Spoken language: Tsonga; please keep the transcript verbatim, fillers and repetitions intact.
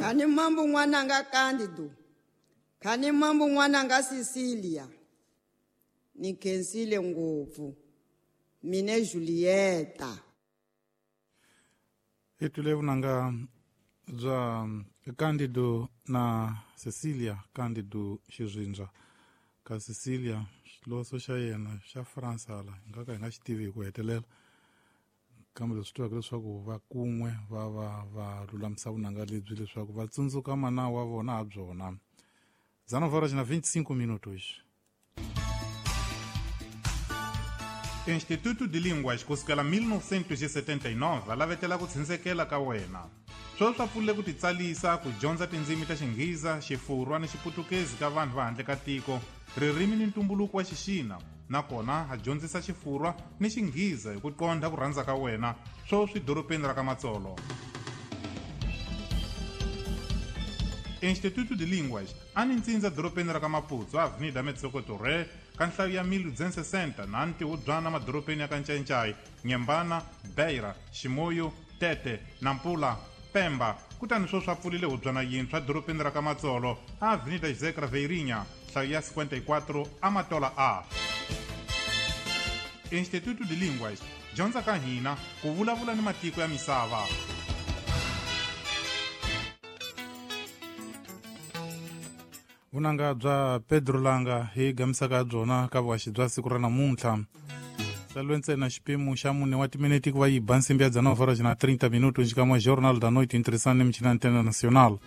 Khani mambo n'wananga Candido, khani mambo n'wananga Cecilia. Ni khensile ngopfu. Mine Julieta. Hi twile vunanga bya Candido na Cecilia Candido Xizwindza. Ka Cecilia xiloso xa yena xa Fransa la hi nga ka hi nga xi tivi hi ku hetelela, kambe leswi tivaka leswaku va kun'we va va va lulamisa vunanga lebyi leswaku va tsundzuka mana wa vona ha byona. dezenove horas na vinte e cinco minutos. Instituto de Línguas kusukela mil novecentos e setenta e nove a lavetela ku tshindzekela ka wena. Sweswi swa pfulile ku titsalisa ku dyondza tindzimi ta Xinghiza, Xifurwa ni Xiputukezi ka vanhu va handle ka tiko, ririmi ni ntumbuluko wa Xixina, nakona a dyondzisa Xifurwa ni Xinghiza hi ku qondha ku rhandza ka wena, sweswi dorobeni ra ka Matsolo. Instituto de Línguas a ni ntsindza dorobeni ra ka Maputo, Avenida Metsoko Torre, ka nhlayo ya mil duzentos e sessenta na ntihubyana madorobeni ya ka Ncayincai, Nyembana, Beira, Ximoyo, Tete, Nampula, Pemba. Kutani sweswi a pfulile hubyana yintshwa dorobeni ra ka Matsolo, Avenida José Craveirinha, nhlayo ya cinquenta e quatro, Amatola A. Instituto de Línguas, dyondza ka hina ku vulavula ni matiko ya misava. Vunanga bya Pedro Langa hi gamisaka byona ka vuhaxi bya siku ra namuntlha. Salwe ntsena xipimo xa mune wa timinete ku va yi ba nsimbi ya dezenove horas na trinta minutos xikan'we Jornal da Noite interessante michina Antena Nacional.